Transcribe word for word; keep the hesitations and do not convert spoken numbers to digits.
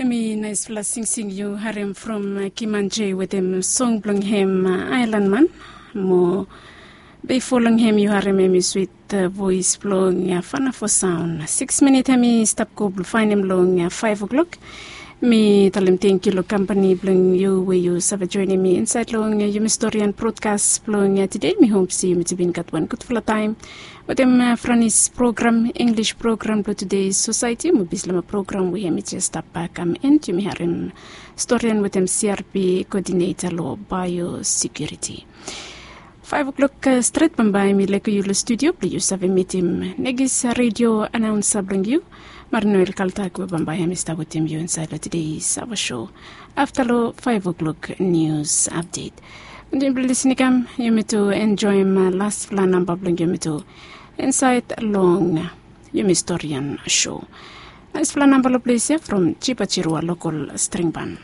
Mi naispela singsing yu harim from Kimanje wetem song blong hem Island Man. Mo bifo long hem yu harim hem i swit vois blong Fanafo Saun. Siks minit hem i stap go blong fainim long faiv o'klok. Mi talem tenkyu long kampani blong yu we yu save joinim mi insaed long yumi storian brodkas blong tide. Mi hop se yumi tu bin gat wan gudfala taem wetem Franis program, Inglis program blong tude, Sosaeti mo Bislama program we hem i jes stap kam en. Yumi harim storian wetem CRP koodineta long baiosekiuriti. Faiv o'klok stret bambae mi laik yu long studio blong yu save mitim Negis redio anaunsa blong yu, Marinoel Kaltak, we bambae hem i stap wetem yu insaed long tude Sava show. Afta long faiv o'klok nius apdet. Yumi blong lisin i kam, yumi tu enjoim laspela namba blong yumi tu insaed long yumi storian show. Naispela namba long ples ya from Jipa Jirua lokol stringban.